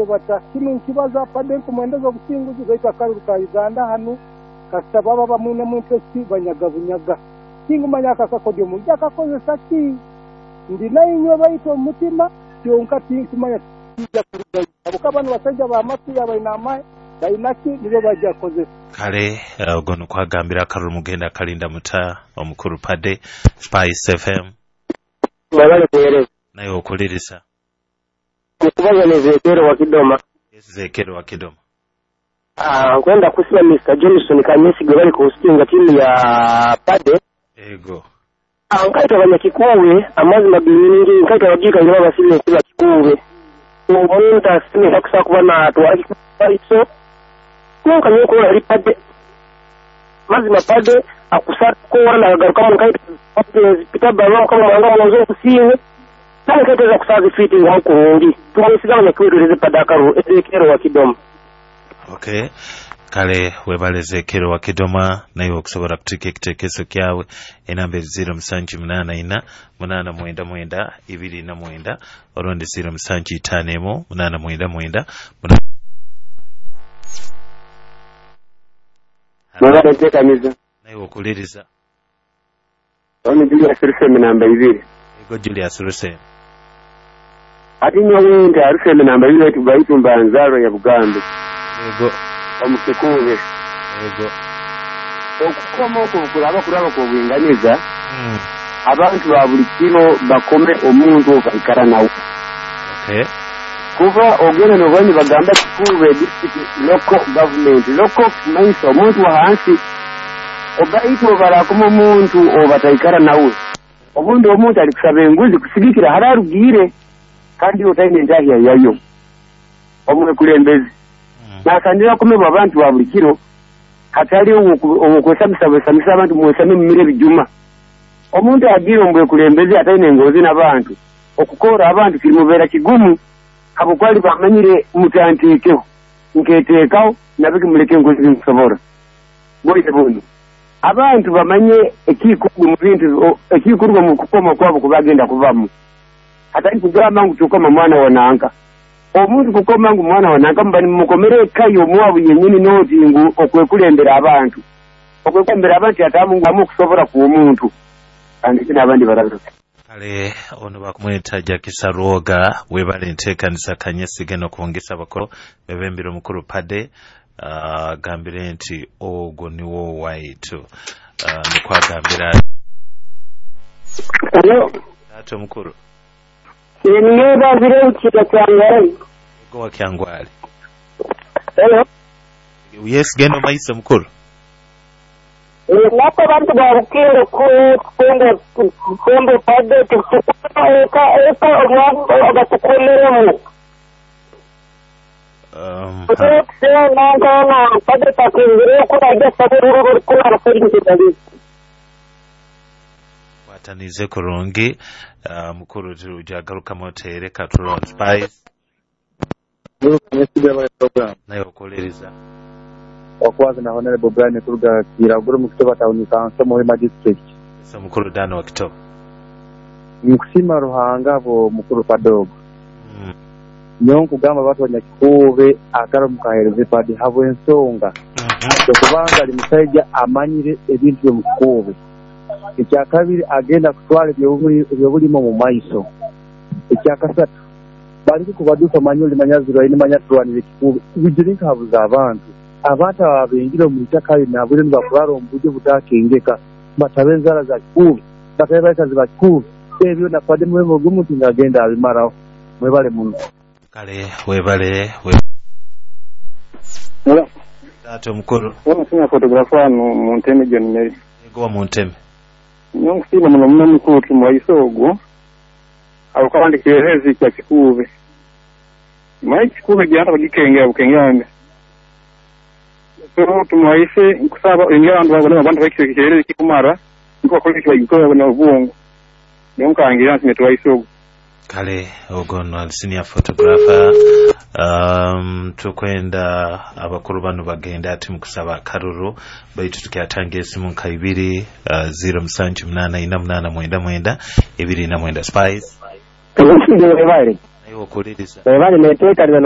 Bata kinu nkibaza Pade nkumwendeza obusinguzi, baitu akaruru ka Uganda hanu kasita baba bamwinemu interest banyaga bunyaga. Tingumanya akakakodyo omuntu akakozesa ki, ndi nainywe baitu omu mutima kyonka tinkumanya kijja kurugayo, habwokuba banu basaija ba mafiya baina amahe baina ki nibo bajja kukozesa. Kale ogwo nikwagambira akaruru mugenda akalinda muta omukuru Pade. Spice FM. Mwebale kuweereza. Naye okulirisa. Mukubaza Nezekero wa Kidoma. Ezekero wa Kidoma. Nkwenda kusima Mr. Johnson Kanyesi bali kuhostinga timu ya Pade. Ego. Nkaita abanyakikuwe amazima ginyingi nkaita abagika ngira basibye kuba kikuwe. Omuntu asimira kusa kuba na twali iso. Nonka nyoko ali Pade. Mazima Pade akusaka ko na garuka mu nkaita Peter Barwa kama mwanga mwanzo kusiwe. Nani kaiteza kusazi fiti nga kurungi. Tumwesiga abanyakikuwe Pade akaru Ezekero wa Kidoma. Okay. Kale webale Ezekero wa Kidoma naye okusobola kutuka ekiteekeso kyawe enamba 0784 899 29 olundi 0751 899. Mwebale nteekaniza. Naye okuliriza. Ono Julius Ruseme namba 2. Ego Julius Ruseme. Ati nyowe nti Ruseme namba 2 tubaitu mbanzaro ya Buganda. Ego. Omukikuube. Ego. Okukoma okwo kulaba kulaba kw'obwinganiza. Abantu ba buli kiro bakome omuntu okaikara nawe. Okay. Kuba ogenda n'obwanyi bagamba Kikuube district local government. Local kimanyiso omuntu wa hansi. Oba itwe barakoma omuntu obataikara nawe. Obundi omuntu ali kusaba enguzi kusigikira hararugiire kandi otaine entahya yayo. Omwekulembeze. Nasandira kumebwa abantu ba buli kiro hatali okwesamisa bwesamisa abantu mwesame mumire bijuma. Omuntu agira omwekulembeze ataine engozi n'abantu okukora abantu kirimubeera kigumu habwokwali bamanyire mutanteekeho nketeekaho nabiki muleke engozi nkusobora. Bwire buno abantu bamanye ekikorwa mu bintu ekikorwa mu kukoma kwabo kubagenda kuvamu hatali kugamba ngu tukoma mwana wananka. Omuntu kukoma ngu mwana wananka mba nimukomere ekayo omwabu yennyini noti ngu okwekulembera abantu. Okwekulembera abantu atamu ngu okusobola ku omuntu. Kandi n'abandi bararuka. Kale ono bakumweta Jackie Sarwoga webale nteekanisa Kanyesige n'okwongesa abakolo bebembere omukulu Pade agambire nti ogwo niwo waitu nikwagambira. Hello. Ate omukulu. Niba ukira Kyangwali. Ego wa Kyangwali. Hello. Yes, genda maise mukulu. Nako bantu ba Rukindo kundo Pade tukuka eka omwana abatukomeremu. Pade takingire ko ajya saburu ko arafuri. Watanize kurungi mukuru tujagarukamu oteereka tulon Spice. Naye okuliriza. Okwaza na Honorable Brian Kuruga Kiraguru mu Kitoba Town Council Muhima District. So mukuru Dano wa Kitoba. Nkusima Ruhanga bo mukuru Padogo. Nyo nkugamba abantu banyakikuube akaro mukahereze Pade habwe ensonga. Kubanga ali musajja amanyire ebintu byo mukikuube. Ekyakabiri agenda kutwala ebyobulimo mu maiso. Ekyakasatu bali kubaduka manyoli manyazirwa ine manyatwanire kikuube. Bijirinka habuza abantu. Abantu abengira mu itaka nabure nibakurara omu buryo butakengeka batabe enzara za kikuube batabe bakazi ba kikuube ebyo na Pade muwebo gw'omuntu ng'agenda abimaraho. Mwebale muno. Kale webale Taata omukulu. Omusumya photographer wano mu Nteme John Mary. Ego wa mu Nteme. Nkusiima muno muno mukulu tumwayise ogwo awo kirerezi kya Kikuube. Mayi Kikuube gyanta bagikengera bukengera. So tumwayise nkusaba engera abantu babona abantu bakikirerezi kikumara niko bakora ekibagikora na obwongo. Niyo nkangira nti netwayise ogwo. Kale ogwo no senior photographer tukwenda abakulu bano bagenda ati mukusaba akaruru baitu tukyatanga esimu nka 2 0784 899 29 Spice. Webale. Naye okuliriza. Webale neteekaniza.